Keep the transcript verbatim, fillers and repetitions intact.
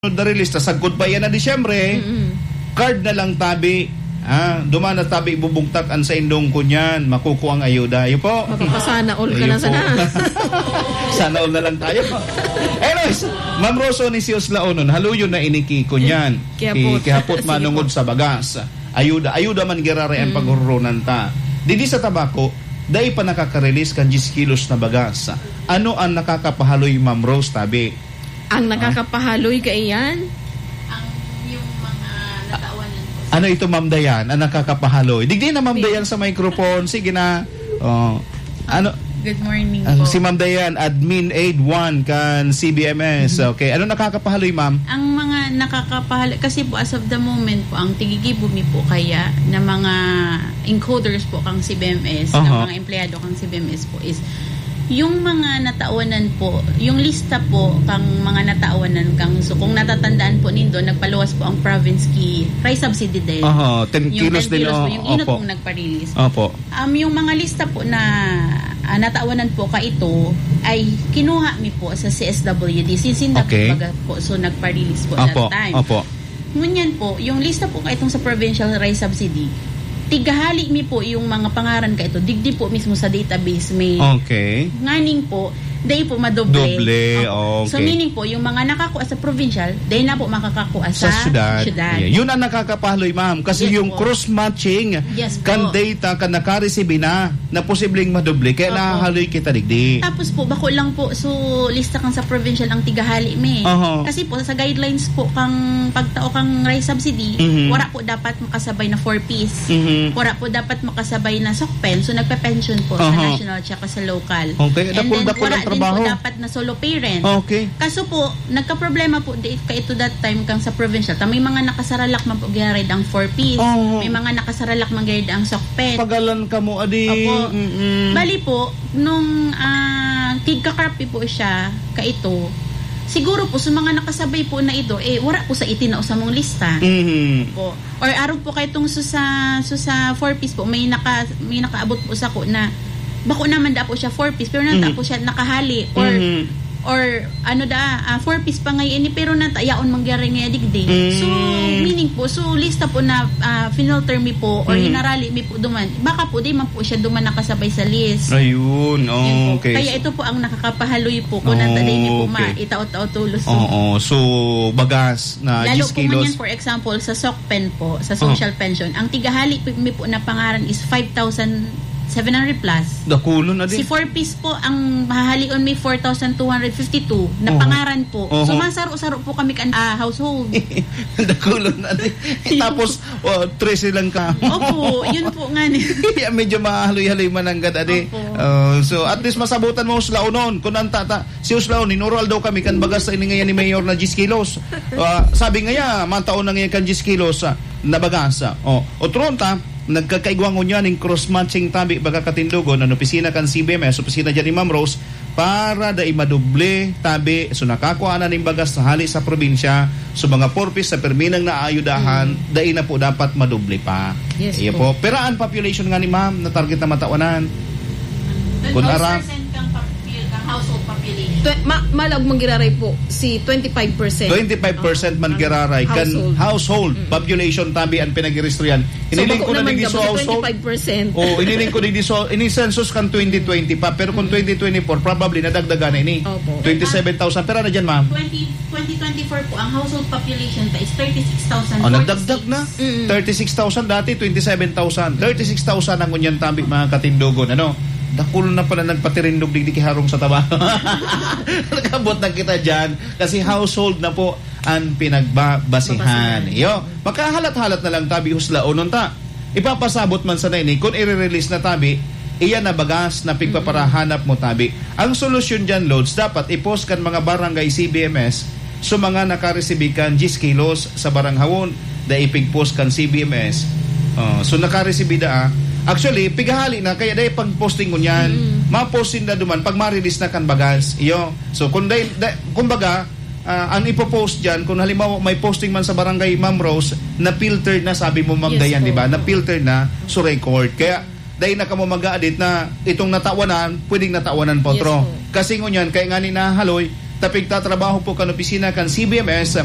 na release, ta sagkod pa iyan na Disyembre, Mm-mm. card na lang tabi. Ah, duman na tabi bubugtak an saindong kunyan, makukuha ang ayuda. Iyo po. Mapapasana all ka Iyo na po. sana. Sana all na lang tayo. Anyways, Ma'am Roso ni Sios Laonon, haluyon na ini ki kunyan. Kihapot. Ki-, kihapot Sige manungod po. sa bagas. Ayuda, ayuda man giraray ang Mm. paghurunan ta. Didi sa tabako, dai pa nakaka-release kan diyes kilos na bagas. Ano ang nakakapahaloy, Ma'am Rose, tabi? Ang Ah. nakakapahaloy kaiyan? Ang yung mga natawanan po. Ano ito, Ma'am Dayan, ang nakakapahaloy? Digdi na, Ma'am Sige. Dayan, sa microphone. Sige na. Oh. Ano? Good morning Ang po. si Ma'am Dayan, Admin Aid one kan C B M S. Mhm. Okay. Ano nakakapahaloy, Ma'am? Ang mga nakakapahaloy, kasi po as of the moment po, ang tigigibo mi po kaya na mga encoders po kang C B M S, Aha. ng mga empleyado kang C B M S po is yung mga natawanan po, yung lista po kang mga natawanan kang, so kung natatandaan po nindo, nagpaluwas po ang province ki rice subsidy din. Aha, ten Yung kilos ten din, kilos po, oh, yung inot opo. pong nagpa-release. Opo. Um, yung mga lista po na, ah, natawanan po kaito ay kinuha mi po sa C S W D. Since in that Okay. baga po, so nagpa-release po Opo, that time. opo. Ngunyan po, yung lista po kaitong sa provincial rice subsidy, tigahali mi po yung mga pangaran kaito, digdi po mismo sa database may Okay. nganing po, dai po madoble. Doble, Opo. So, okay. meaning po, yung mga nakakuha sa provincial, dai na po makakakuha Sa sa syudad. syudad. Yeah. Yun ang nakakapahaloy, ma'am. Kasi Yes yung po. cross-matching Yes po. kan data kan nakaresibi na, na posibleng madoble, kaya Opo. nahahaloy kita digdi. Tapos po, bako lang po, so, lista kang sa provincial ang tigahali mi. Oho. Kasi po, sa guidelines po kang pagtao kang rice subsidy, Mhm. wala po dapat makasabay na four Ps. Mhm. Wala po dapat makasabay na SOCPEN. So, nagpe-pension po sa Oho. national tsaka sa local. Okay, And then, dakul-dakul wala ang din trabaho. po dapat na solo parent. Okay. Kaso po, nagkaproblema po di, kaito that time kang sa provincial. Ta may mga nakasaralak man po giraray ang four Ps. Oo. May mga nakasaralak man giraray ang SOCPEN. Pagalan ka mo, adi. Opo. Mm-mm. Bali po, nung, ah, tigka-crop po siya, kaito, siguro po, sa mga nakasabay po na ito, eh, wala po sa itinao sa mong lista. Mhm. Po. Or arog po kayo itong so sa, so sa four Ps po, may naka-, may nakaabot po sa ko na, bako naman da po siya four Ps, pero nata Mhm. po siya nakahali. Or, Mhm. or ano da, ah, four Ps pa ngayon ini, pero nata yaon mangyari nga digdi. Mm. So, meaning po, so lista po na, ah, finalter mi po or Mhm. hinarali mi po duman, baka po di man po siya duman nakasabay sa list. Ayun, Yun po. okay. Kaya So ito po ang nakakapahaloy po kung nata di niyo po Okay. maitaot-taot tulos. Oo, so bagas na Lalo diyes po kilos. ngunyan, for example, sa SOCPEN po, sa Oh. social pension, ang tigahali po, mi po na pangaran is five thousand seven hundred plus. Dakulon na din. Si four Ps po, ang mahahalion mi four thousand two hundred fifty-two na Oho. pangaran po. Oho. So, masaro-saro po kami kan, ah, household. Dakulon na din. Tapos, oh, trese lang ka. Opo, yun po nga ni. Kaya medyo mahaloy-haloy mananggad, adi. Opo. Oh, so, at least masabutan mo sila unon. Kung ang tata, Si Uslaon, inoroal daw kami kan bagas sa ini ngayan ni Mayor na diyes kilos. Ah, sabi ngaya, mataon na ngayan kan diyes kilos, ah, na bagas. Oh, otro ta, nagkakaigwa ngunyan ning cross-matching tabi baga katindogon, an opisina kan C B M S, opisina dyan ni Ma'am Rose, para dai madoble tabi. So, nakakua na ning bagas sa hali sa probinsya. So, mga four Ps sa perminang naayudahan, Mm. dai na po dapat madoble pa. Yes Iyo po. po. Pero ang population nga ni Ma'am, na target na matawanan. Kun aram- Twelve percent kang pap-, kang household population. Twe-, ma-, malag manggiraray po si twenty-five percent. Twenty-five percent Ah, man ang giraray kan household. household Mm. population tabi ang pinag-irestrihan. So, Iniling bako ko na naman digdi sa kami sa household. twenty-five percent. Oh, iniling ko digdi sa, ini census kan twenty twenty pa, pero kung Mm. twenty twenty-four, probably nadagdagan na ini. Opo. Twenty-seven thousand. Pero ano dyan, ma'am? Twenty, twenty twenty-four po, ang household population ta is thirty-six thousand forty-six. Oh, nagdagdag na. Mm. Thirty-six thousand dati, twenty-seven thousand. Thirty-six thousand ang ngunyan tabi, mga katindogon, ano? Dakul na pala nagpatirindog digdi ki Harong sa Taba. Nakabot na kita dyan kasi household na po ang pinagbabasihan. Babasihan. Iyo, makahalat-halat na lang tabi, Uslaon, unta. Ipapasabot man sana ini kun ire-release na tabi, iyan na bagas na pigpaparahanap mo tabi. Ang solusyon diyan, Lods, dapat i-post kan mga barangay C B M S so mga nakaresibi kan diyes kilos sa baranghawon, dai pig-post kan C B M S. Oh, so nakaresibi da, ah. Actually, pigahali na, kaya dai pag-posting ngunyan. Mm. Ma-post sinda duman pag ma-release na kan bagas. Iyo. So, kung dai, dai, kumbaga, ah, ang ipo-post diyan, kung halimbawa may posting man sa barangay, Ma'am Rose, na-filtered na, sabi mo, Ma'am Yes Dayan, po. di ba? Na-filtered na, so record. Kaya, dai na kamo mag-aadit na itong natawanan, pwedeng natawanan pa Yes otro. po. Kasi ngunyan, kaya nga ni nahaloy, ta pigtatrabaho po kan opisina kan C B M S,